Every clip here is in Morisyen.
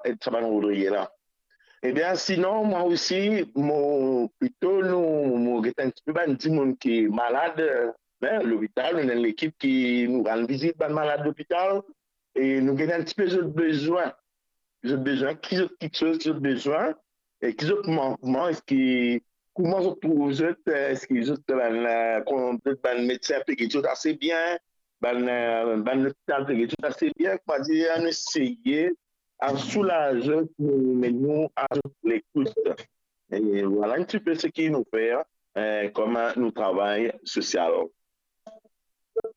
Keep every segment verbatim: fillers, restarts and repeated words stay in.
ed sa bann rodrige la. Ebien, sinon, mwa osi, mo, plito nou, mo get enn tipe bann dimoun ki malad, eh, lopital, nou ena enn lekip ki nou al vizit bann malad lopital, e nou get enn tipe zot bezwin. Zot bezwin, ki zot kiksoz ki zot bezwin, e ki zot mankman, eski, kouma zot trouv zot, eh, eski zot bann, eh, kouma zot bann medsin pe get zot ase bien, bann, eh, bann lopital pe get zot ase bien, koumadir, nou eseye a soulaz zot, nou met nou a zot lekout. E vwala enn tipe seki nou fer, eh, kouma nou travay sosial.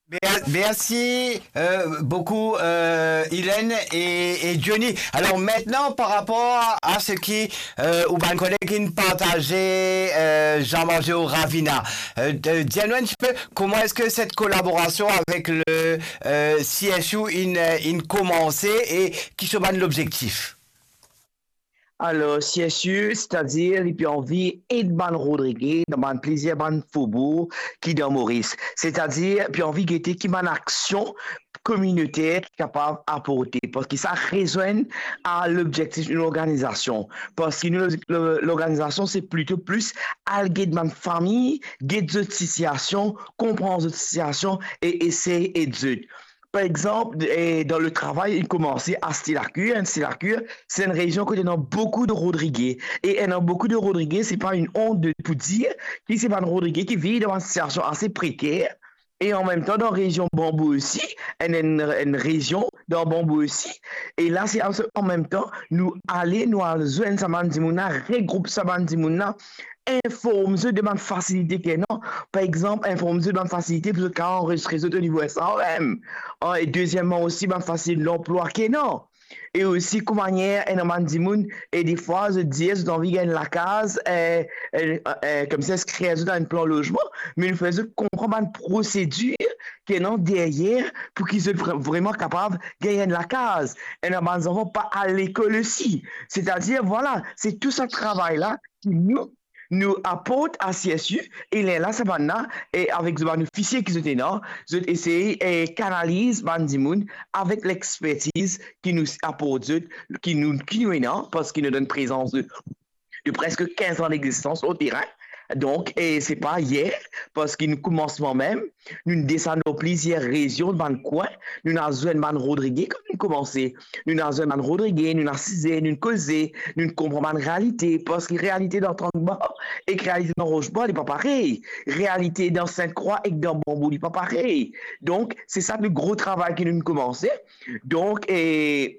Mer-, mersi, eh, boukou, eh, Hélène e, e Johnny. Alor, aster, par rapor a, a seki, eh, ou bann koleg inn partaze, eh, Jean-Margeo Ravina, eh, de, dir nou enn tipe kouma eski set kolaborasion avek le, eh, C S U inn, eh, inn koumanse e ki so bann lobzektif? Alor, C S U, setadir, li pe anvi ed bann rodrige dan bann plizier bann fobour ki dan Moris. Setadir, pe anvi gete ki bann aksion kominoter ki kapav aporte, parski sa rezwenn a lobzektif nou lorganizasion. Parski nou, lo-, lo-, lorganizasion, se plito plis al get bann fami, get zot sitiasion, konpran zot sitiasion e esey ed zot. Par exanp, eh, dan le travay, inn koumanse a Style à Cuir. Enn Style à Cuir, se enn rezion kot ena boukou de rodrige. E ena boukou de rodrige, se pa enn ont de, pou dir ki se bann rodrige ki viv dan enn sitiasion ase preker. E anmemtan, dan rezion Banbou osi, enn, enn, enn rezion dan Banbou osi. E la, se an, anmemtan, nou ale, nou al zwenn sa bann dimoun la, regroup sa bann dimoun la, inform zot de bann fasilite ki ena. Par exanp, inform zot bann fasilite pou zot kapav anrezistre zot o nivo S A R M. An, e dezieman osi, bann fasilite lanplwa ki ena. E osi, kouma manier ena bann dimoun, e defwa, zot dir zot anvi gagn lakaz, eh, eh, eh, koumsa, skriv zot dan enn plan lozman, me nou fer zot konpran bann prosedir ki ena deryer pou ki zot vre-, vreman kapav gagn enn lakaz. Ena bann zanfan pa al lekol osi. Setadir, vwala, se tou sa travay la ki nou, nou aport a C S U, e lerla sa bann la, e avek bann ofisie ki zot ena, zot esey, e, kanaliz bann dimoun avek lexpertiz ki nou aport zot, ki nou, ki nou ena, parski nou ena enn prezans de, de preske kinz an degzistans o terin. Donk, e se pa yer, parski nou koumans mwa mem, nou desann dan plizier rezion, bann kwin, nou al zwenn bann rodrige kan nou koumanse. Nou al zwenn bann rodrige, nou asize, nou koze, nou konpran bann realite, parski realite dan Tank Bar ek realite dan Roche Bois, li pa parey. Realite dan Sint Krwa ek dan Banbou, li pa parey. Donk, se sa le gro travay ki nou koumanse. Donk, e,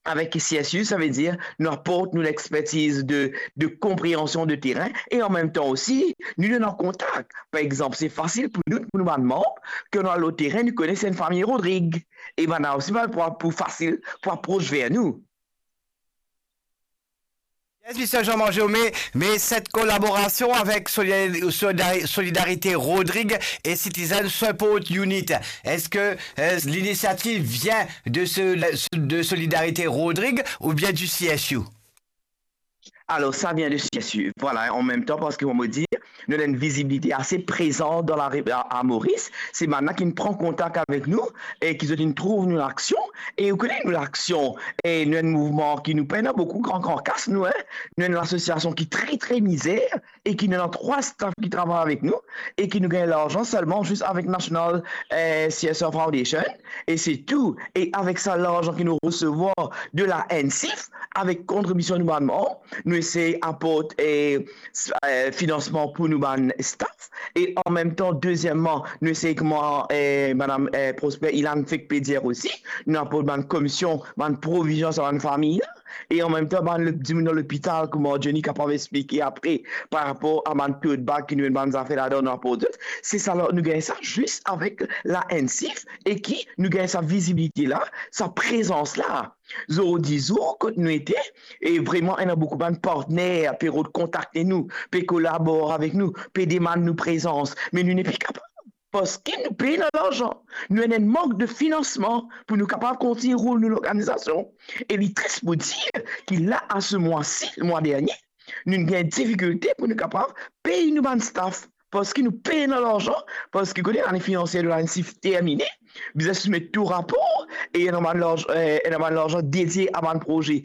avek C S U, savedir nou aport nou lexpertiz de, de konpreansion de terin e anmemtan osi, nou donn kontak. Par exanp, se fasil pou nou, pou nou bann manm, kan nou al lor terin, nou kone si enn fami rodrig. E bann la osi, bann pou, pou fasil pou apros ver nou. Yes, Mister Jean-Marc Jaume, me set kolaborasion avek Solidari-, Solidari-, Solidarité Rodrig e Citizen Support Unit, eski, eh, linisiativ vinn de se, de Solidarité Rodrig oubien du C S U? Alor, sa vinn de C S U. Vwala, anmemtan, parski, kouma mo dir, nou ena enn vizibilite ase prezan dan lari a, a Moris. Se bann la ki pran kontak avek nou e ki zot inn trouv nou laksion. E ou kone nou laksion, e nou enn mouvman ki nou pena boukou gran, gran kas, nou, en. Nou enn lasosiasion ki tre, tre mizer e ki nou ena trwa staf ki travay avek nou e ki nou gagn larzan selman zis avek National, eh, C S R Foundation e se tou. E avek sa larzan ki nou resevwar de la N C I F, avek kontribision nou bann manm, nou esey aport, eh, s-, eh, finansman pou nou bann staf. E anmemtan, dezieman, nou esey kouma, eh, madam, eh, Prosper Ilan fek pe dir osi, nou aport bann komision, bann provizion sa bann fami la. E anmemtan, bann le-, dimoun dan lopital, kouma Johnny kapav explike apre, par rapor a bann tote bag ki nou ena bann zafer ladan, nou aport zot. Se sa la, nou gagn sa zis avek la N C I F e ki nou gagn sa vizibilite la, sa prezans la. Zordi zour, kot nou ete, e vreman, ena boukou bann partner pe rod kontakte nou, pe kolabor avek nou, pe demann nou prezans, me nou nepli kapav, parski nou pena larzan. Nou ena enn mank de finansman pou nou kapav kontign roul nou lorganizasion. E li tris pou dir ki la, a se mwa si, mwa dernie, nou gagn difikilte pou nou kapav pey nou bann staf. Parski nou pena larzan, parski kote lane finansie de la N C I F termine, bizin soumet tou rapor, e ena bann larz-, eh, ena bann larzan dedie a bann proze